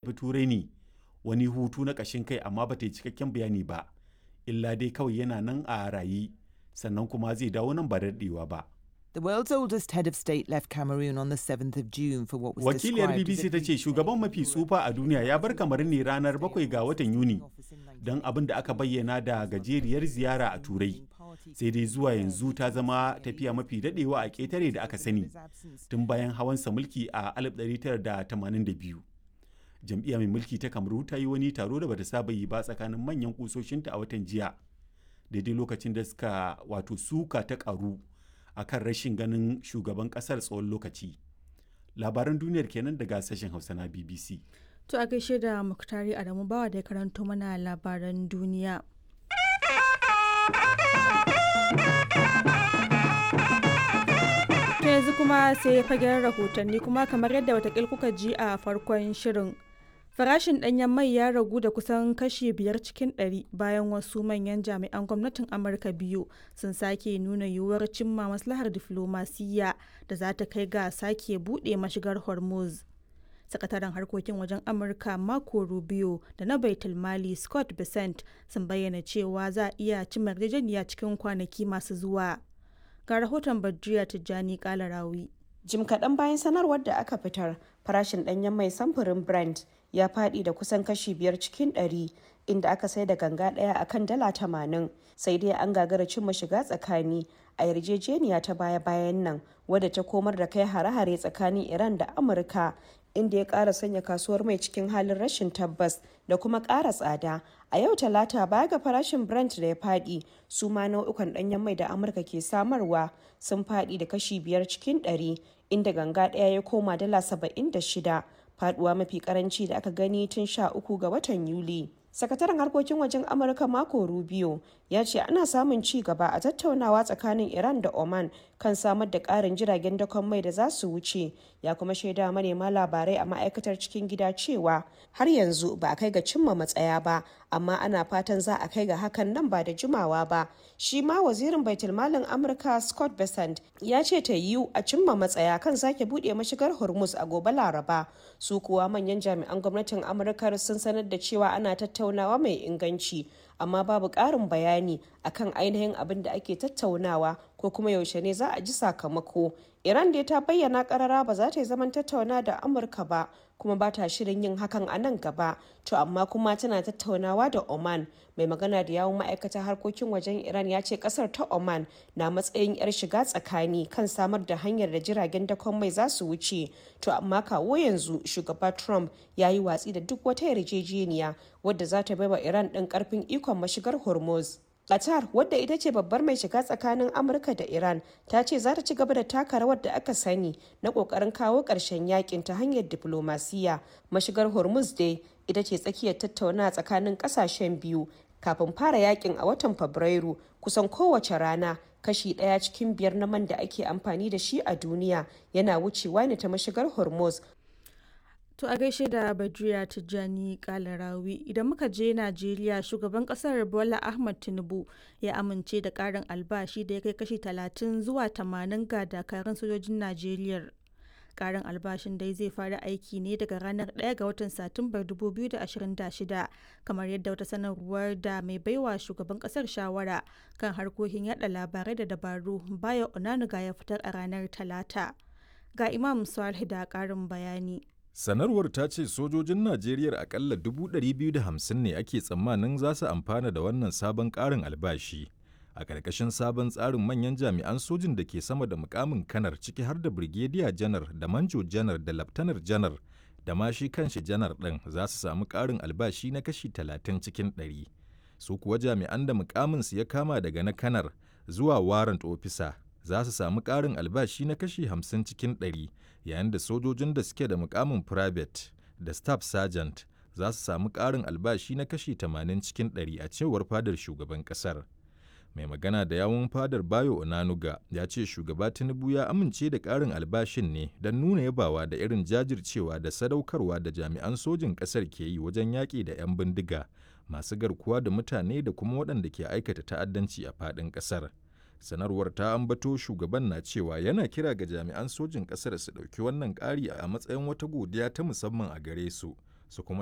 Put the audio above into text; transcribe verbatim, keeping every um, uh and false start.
Tafi Turai ne wani hutu na ƙashin kai amma ba ta yi cikakken bayani ba, illa dai kawai yana nan a raye sannan kuma zai dawo nan ba da daɗewa ba. The world's oldest head of state left Cameroon on the seventh of June for what was Wakiliyar described as B B C a ta ce shugaban mafi tsufa a duniya ya bar Kamaru ne ranar bakwai ga watan Yuni don abin da aka bayyana da gajeriyar ziyara a Turai. Sai dai zuwa yanzu ta zama tafiya mafi daɗewa a ƙetare da aka sani tun bayan hawansa mulki a alif ɗari tara da tamanin da biyu. Jam'iyya mai mulki ta Kamaru ta yi wani taro da bata saba yi ba tsakanin manyan kusoshinta a watan jiya, daidai lokacin da suka wato suka ta karu a kan rashin ganin shugaban kasar tsawon lokaci. Labaran duniyar kenan daga sashen Hausa na B B C. To a gaishe da Muktari Adamu Bawa da ya karanto mana labaran duniya. To yanzu kuma sai fagen rahotanni, kuma kamar yadda watakil kuka ji a farkon shirin. Farashin ɗanyen mai ya ragu da kusan kashi biyar cikin ɗari bayan wasu manyan jami'an gwamnatin Amurka biyu sun sake nuna yiwuwar cimma maslahar diflomasiyya da za ta kai ga sake buɗe mashigar Hormuz. Sakataren harkokin wajen Amurka Marco Rubio da na Baitul Mali Scott Bessent sun bayyana cewa za a iya cimma yarjejeniya cikin kwanaki masu zuwa. Ga rahoton Badriya Tijjani Kalarawi. Jim kaɗan bayan sanarwar da aka fitar, farashin ɗanyen mai samfurin Brent ya faɗi da kusan kashi biyar cikin ɗari, inda aka sai da ganga ɗaya a kan dala tamanin. Sai dai an gagara cimma shiga tsakani a yarjejeniya ta baya-bayan nan, wadda ta komar da kai hare-hare tsakanin Iran da Amurka, inda ya ƙara sanya kasuwar mai cikin halin rashin tabbas da kuma ƙara tsada. A yau Talata, baya ga farashin Brent da ya faɗi, su ma nau'ukan ɗanyen mai da Amurka ke samarwa sun faɗi da kashi biyar cikin ɗari, inda ganga ɗaya ya koma dala saba'in da shida, faɗuwa mafi karanci da aka gani tun sha uku ga watan Yuli. Sakataren harkokin wajen Amurka Marco Rubio ya ce ana samun ci gaba a tattaunawa tsakanin Iran da Oman kan samar da ƙarin jiragen dakon mai da za su wuce. Ya kuma shaida manema labarai a ma'aikatar cikin gida cewa har yanzu ba a kai ga cimma matsaya ba, amma ana fatan za a kai ga hakan nan ba da jimawa ba. Shi ma wazirin baitulmalin Amurka Scott Bessent ya ce ta yiwu a cimma matsaya kan sake buɗe mashigar Hormuz a gobe Laraba. Su kuwa manyan jami'an gwamnatin Amurka sun sanar da cewa ana tattaunawa mai inganci, amma babu ƙarin bayani akan ainihin abin da ake tattaunawa ko kuma yaushe ne za a ji sakamako. Iran dai ta bayyana karara ba za ta yi zaman tattauna da Amurka ba, kuma ba ta shirin yin hakan a nan gaba. To amma kuma tana tattaunawa da Oman. Mai magana da yawun ma'aikatar harkokin wajen Iran ya ce kasar ta Oman na matsayin yar shiga tsakani kan samar da hanyar da jiragen dakon mai za su wuce. To amma kawo yanzu shugaba Trump ya yi watsi da duk wata yarjejeniya wadda za ta baiwa Iran ɗin karfin ikon mashigar Hormuz. Qatar, wadda ita ce babbar mai shiga tsakanin Amurka da Iran, ta ce za ta ci gaba da taka rawar da aka sani na kokarin kawo ƙarshen yakin ta hanyar diplomasiya. Mashigar Hormuz dai ita ce tsakiyar tattauna tsakanin ƙasashen biyu kafin fara yakin a watan Fabrairu. Kusan kowace rana kashi ɗaya cikin biyar na man da ake amfani da shi a duniya yana wucewa ne ta mashigar Hormuz. To a gaishe da Badriya Tijjani Kalarawi. Idan muka je Najeriya, shugaban kasar Bola Ahmad Tinubu ya amince da karin albashi da ya kai kashi talatin zuwa tamanin ga dakarun sojojin Najeriya. Karin albashin dai zai fara aiki ne daga ranar ɗaya ga watan Satumbar dubu biyu da ashirin da shida, kamar yadda wata sanarwar da mai baiwa shugaban kasar shawara kan harkokin yada labarai da dabaru Bayo Onanuga ya fitar a ranar Talata. Ga Imam Salih da karin bayani. Sanarwar ta ce sojojin Najeriya akalla dubu ɗari biyu da hamsin ne ake tsammanin za su amfana da wannan sabon ƙarin albashi. A ƙarƙashin sabon tsarin, manyan jami'an sojin da ke sama da mukamin kanar, ciki har da Birgediya Janar da Manjo Janar da Laftanar Janar da ma shi kanshi Janar ɗin, za su samu ƙarin albashi na kashi talatin cikin ɗari. Su kuwa jami'an da mukaminsu ya kama daga na kanar zuwa warrant officer za su samu ƙarin albashi na kashi hamsin cikin ɗari, yayin da sojojin da suke da mukamin private da staff sergeant za su samu ƙarin albashi na kashi tamanin cikin ɗari, a cewar fadar shugaban ƙasar. Mai magana da yawun fadar, Bayo Onanuga, ya ce shugaba Tinubu ya amince da ƙarin albashin ne don nuna yabawa da irin jajircewa da sadaukarwa da jami'an sojin ƙasar ke yi wajen yaƙi da 'yan bindiga masu garkuwa da mutane da kuma waɗanda ke aikata ta'addanci a faɗin ƙasar. Sanarwar ta ambato shugaban na cewa yana kira ga jami'an sojin ƙasar su ɗauki wannan ƙari a matsayin wata godiya ta musamman a gare su. su kuma